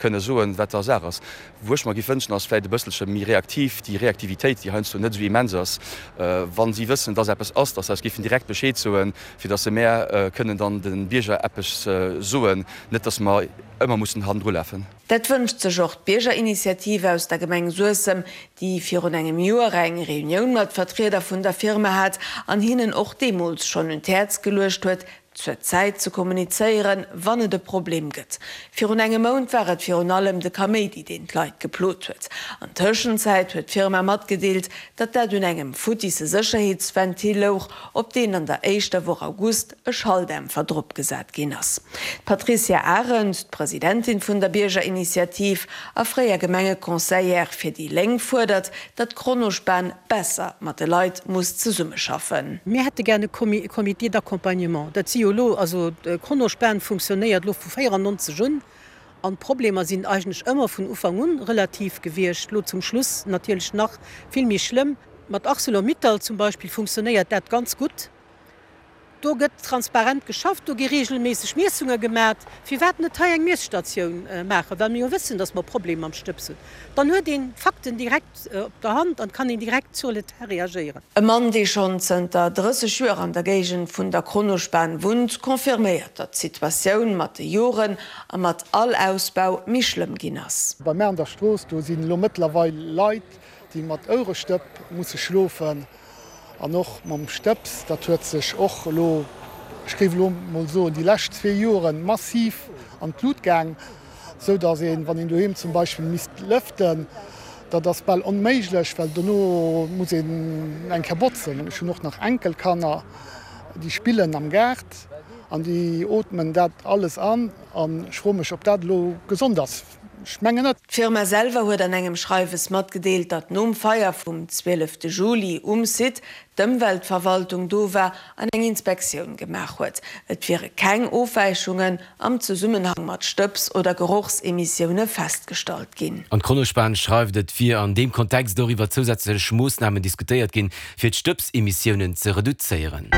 Kënne soen, wat da Saach ass. Wou ech mer giff wënschen, ass vläicht e bësselche méi reaktiv, déi Reaktivitéit, déi heiansdo net esou immens ass, wa si wëssen, dass eppes ass, dass se eis giffen direkt Bescheed soen, fir dass se mär kënnen dann de Bierger eppes soen, net dass mer ëmmer mussen hannendru lafen. Dat wënscht sech och d'Biergerinitiative aus der Gemeng Suessem, déi virun engem Joer eng Reunioun mat Vertrieder vun der Firma hat an hinnen och deemools schonn un d'Häerz geluecht huet, zur Zäit ze kommunizéieren, wann et e Problem gëtt. Virun engem Mount war et virun allem de Kaméidi, deen d'Leit geplot huet. An Tëschenzäit huet d'Firma matgedeelt, datt dat un engem futtisse Sécherheetsventil louch, op deen an der éischter Woch August e Schalldämpfer dropgesat ginn ass. D'Patricia Arendt, d'Presidentin vun der Biergerinitiativ a fréier Gemengeconseillère fir déi Lénk, fuerdert, datt Kronospan besser mat de Leit muss zesummeschaffen. Mir hätte gär e Comité d'accompagnement. Dat si jo elo, also Kronospan funktionéiert elo vu 94 un an d'Problemer sinn eigentlech ëmmer vun Ufank un relativ gewiescht, elo zum Schluss natierlech nach vill méi schlëmm. Mat Arcelor-Mittal zum Beispill funktionéiert dat ganz gutt. Do gëtt transparent geschafft, do gi reegelméisseg Miessunge gemat. Firwat net hei eng Miesstatioun maachen, well mir jo wëssen, datt mer Problemer mam Stëbs hunn. Dann huet een d'Fakten direkt op der Hand an kann een direkt sur le terrain reagéieren. E Mann, dee schonn zënter 30 Joer an der Géigend vun der Kronospan wunnt, confirméiert, datt d'Situatioun mat de Joren a mat all Ausbau méi schlëmm ginn ass. Bei mär an der Strooss, do sinn elo mëttlerweil Leit, déi mat Ouerestëpp musse schlofen. An och mam Stëbs, dat huet sech och elo, ech géif elo mol soen, déi lescht zwee Joren massiv an d'Lut gaang, esou datt een, wann een doheem zum Beispill misst lëften, dat ass bal onméiglech, well dono muss een eng Kéier botzen. Ech hunn och nach Enkelkanner, déi spillen am Gaart an déi ootmen dat alles an. An ech froe mech, ob dat elo gesond ass. Ech mengen net. D'Firma selwer huet an engem Schreiwes matgedeelt, datt nom Feier vum 12 Juli um Site d'Ëmweltverwaltung do war an eng Inspektioun gemaach huet. Et wiere keng Ofwäichungen am Zesummenhang mat Stëbs oder Gerochsemissioune festgestallt ginn. An d'Kronospan schreift, et wier an deem Kontext och iwwer zousätzlech Moossnamen diskutéiert ginn, fir d'Stëbsemissiounen ze reduzéieren.